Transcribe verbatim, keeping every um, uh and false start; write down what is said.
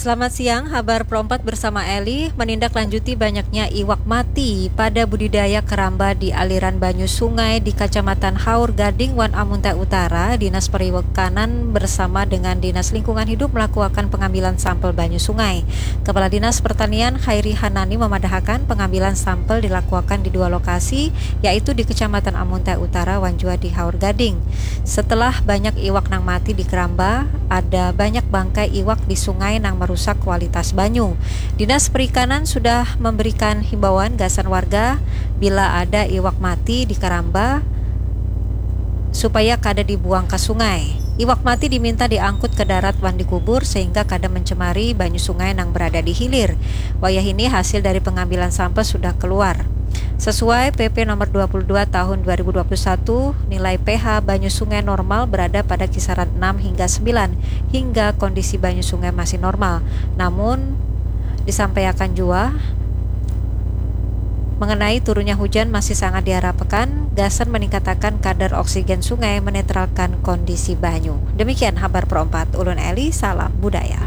Selamat siang, habar Pro empat bersama Eli. Menindaklanjuti banyaknya iwak mati pada budidaya keramba di aliran banyu sungai di Kacamatan Haur Gading wan Amuntai Utara, Dinas Perikanan bersama dengan Dinas Lingkungan Hidup melakukan pengambilan sampel banyu sungai. Kepala Dinas Pertanian Khairi Hanani memadahakan pengambilan sampel dilakuakan di dua lokasi, yaitu di Kecamatan Amuntai Utara wan jua di Haur Gading. Setelah banyak iwak nang mati di keramba, ada banyak bangkai iwak di sungai nang merusak kualitas banyu. Dinas Perikanan sudah memberikan himbauan gasan warga bila ada iwak mati di keramba supaya kada dibuang ke sungai. Iwak mati diminta diangkut ke darat wan dikubur sehingga kada mencemari banyu sungai nang berada di hilir. Wayah ini hasil dari pengambilan sampel sudah keluar. Sesuai P P nomor dua puluh dua tahun dua ribu dua puluh satu, nilai pH banyu sungai normal berada pada kisaran enam hingga sembilan, hingga kondisi banyu sungai masih normal. Namun, disampaikan jua, mengenai turunnya hujan masih sangat diharapkan gasan meningkatakan kadar oksigen sungai menetralkan kondisi banyu. Demikian habar Pro empat, ulun Eli, salam budaya.